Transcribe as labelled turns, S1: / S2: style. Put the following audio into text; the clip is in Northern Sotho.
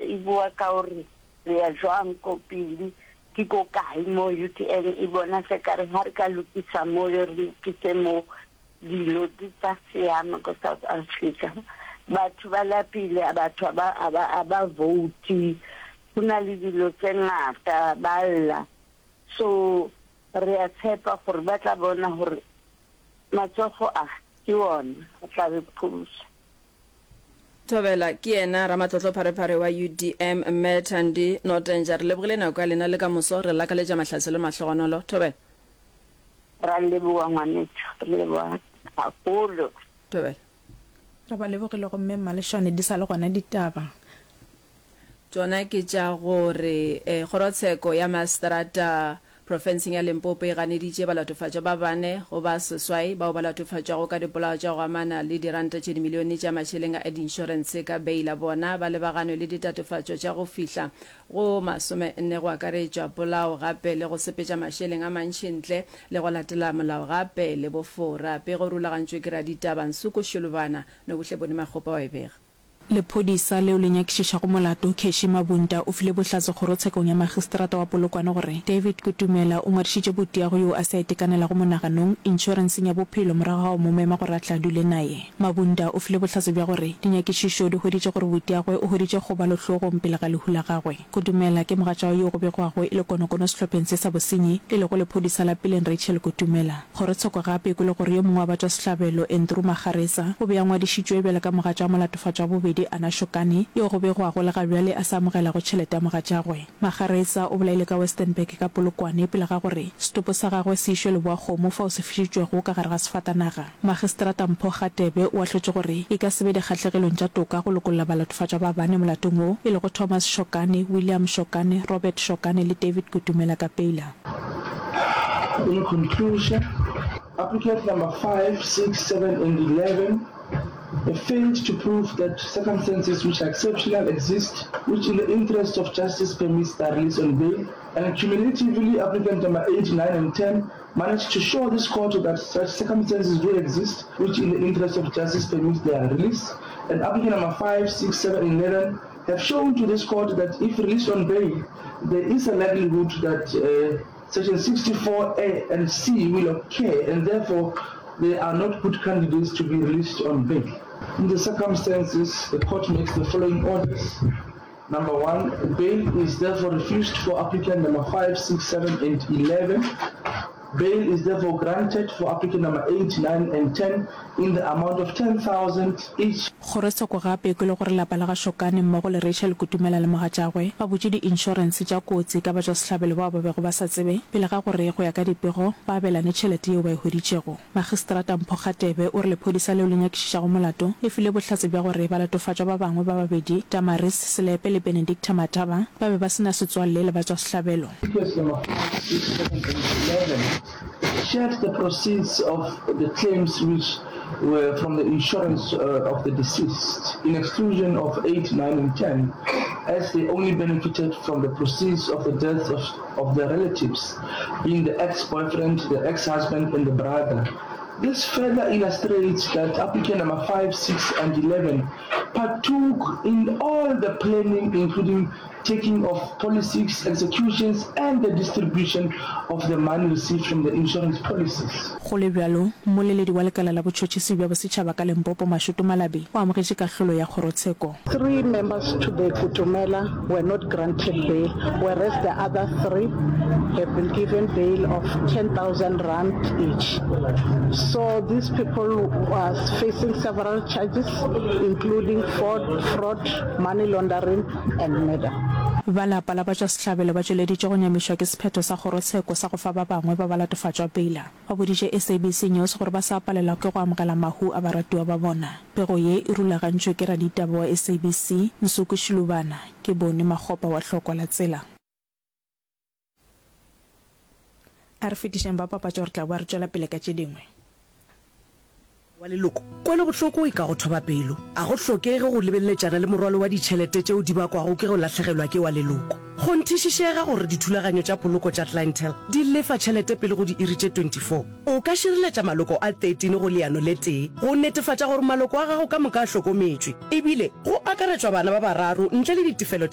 S1: e bua ka gore re ya jwang ko pele, ke ko kae mo UDM e bona se kare ha re ka lokisa mo le re lokise mo dilo di tla siama ko South Africa. Batho ba lapile, batho a ba vote, go na le dilo tse ngata ba lla. So re a tshepa gore ba tla bona gore matsogo a ke ona a tla re pholosa.
S2: Thobela, ke yena ramatlotlo pharephare wa UDM, Mme Thandi Notenja. Re lebogile nako ya lena le ka moso. Re lakaletša mahlatse le mahlogonolo. Thobela.
S1: Ra leboga ngwanetšo, re leboga gagolo.
S2: Thobela.
S3: Re ba lebogile gomme Mmalešwane di sa le gona ditaba.
S2: Tšona ke tša gore Kgorotsheko ya Maseterata profenseng ya Limpopo e ganeditše balatofatšwa ba bane go ba seswai bao ba latofatšwago ka dipolao tša go amana le diranta tše dimilione tša mašeleng a diinšorense ka beila. Bona ba lebaganwe le ditatofatšo tša go fihla go masomenne go akaretšwa polao gape le go sepetša mašeleng a mantši ntle le go latela molao gape le bofora. Pego e rulagantšwe ke raditaba Nsuku Shulubana, Nobuhle Boni Makgopa wa e bega.
S3: Lephodisa leo le nyakišišago molato, Cashy Mabunta, o file bohlatse kgorotshekong ya magistrata wa Polokwane gore David Kutumela o ngwadišitše botiago yoo a se a itekanelago monaganong inšorenseng ya bophelo morago ga go mo mema gore a tle a dule naye. Mabunta o file bohlatse bja gore dinyakišišo di hweditše gore botiagwe o hweditše kgobalo hlogong pele ga lehu la gagwe. Kutumela ke mogatšagwe yoo go begwago e le konokono sehlopheng se sa bosenyi, e lego lephodisa la peleng Rachel Kutumela. Kgorotsheko gape e kwele gore yo mongwe wa batšwasehlabelo, Andrew Makgaretsa, o be a ngwadišitšwe bjalo ka mogatša wa molatofatšwa wa bobedi, Anna Shokane, yo go begwago le ga bjale a sa amogelago tšhelete ya mogatšagwe. Makgaretsa o bolailwe ka Westenburg ka Polokwane pele ga gore setopo sa gagwe se išwe Leboakgomo fao se fišitšwego ka gare ga sefatanaga. Magistrata Mpho Gatebe o ahlotše gore e ka se be dikgahlegelong tša toka go lokolla balatofatšwa ba bane molatong wo, e lego Thomas Shokane, William Shokane, Robert Shokane le David Kutumela Kapeila.
S4: In conclusion, applicant number 5, 6, 7 and 11 have failed to prove that circumstances which are exceptional exist which in the interest of justice permits their release on bail, and cumulatively applicant number 8, 9 and 10 managed to show this court that such circumstances do exist which in the interest of justice permits their release, and applicant number 5, 6, 7 and 11 have shown to this court that if released on bail, there is a likelihood that uh, section 64A and C will occur and therefore they are not good candidates to be released on bail. In the circumstances, the court makes the following orders. Number one, bail is therefore refused for applicant number 5, 6, 7 and 11. Bail is therefore granted for applicant number 8, 9 and 10 in the amount of 10,000 each.
S3: Kgorotsheko gape e kwele gore lapa la ga Shokane mmogo le Rachel Kutumela le mogatšagwe ba butše di-inšorense tša kotsi ka batšwasehlabelo bao ba bego ba sa tsebe pele ga gore go ya ka dipego ba abelane tšhelete yeo ba e hweditšego. Magistrata Mpho Kgatebe o re lephodisa leo le nyakišišago molato le file bohlatse bja gore balatofatšwa ba bangwe ba babedi, Damaris Selepe le Benedicta Mataba, ba be ba se na setswalle le batšwasehlabelo.
S4: Speakers number 5, 6, 7 and 11 shared the proceeds of the claims which were from the insurance of the deceased in exclusion of 8, 9 and 10 as they only benefited from the proceeds of the deaths of, of their relatives, being the ex-boyfriend, the ex-husband and the brother. This further illustrates that applicant number 5, 6 and 11 partook in all the planning including taking of policies, executions and the distribution of the money received from the insurance policies.
S3: Go le bjalo, mmoleledi wa lekala la botšhotšhisi bja bosetšhaba ka Limpopo, Mashudu Malabi, o amogetše kahlolo ya kgorotsheko.
S5: Three members to the Kutumela were not granted bail whereas the other three have been given bail of 10,000 rand each. So these people was facing several charges including fraud, fraud, money laundering and murder.
S3: Ba lapa la batšwasehlabelo ba tšweleditše go nyamišwa ke sephetho sa kgorotsheko sa go fa ba bangwe ba balatofatšwa peila. Ba boditše SABC News gore ba sa palelwa ke go amogela mahu a baratiwa ba bona. Pego ye e rulagantšwe ke raditaba wa SABC, Nsuku Shilubana, ke Boni Makgopa wa Hlokwa la Tsela. A re fetišeng ba papatšo re tla boa re tšwela pele ka tše dingwe.
S6: Wa leloko, kwelobohloko e ka go thoba pelo. A go hlokege go lebeleletšana le morwalo wa ditšhelete tšeo di bakwago ke go lahlegelwa ke wa leloko. Kgonthišišega gore dithulaganyo tša poloko tša Clientele di lefa tšhelete pele go diiri tše 24. O ka šireletša maloko a 13 go leano le tee go netefatša gore maloko a gago ka moka a hlokometšwe, ebile go akaretšwa bana ba bararo ntle le ditefelo tša.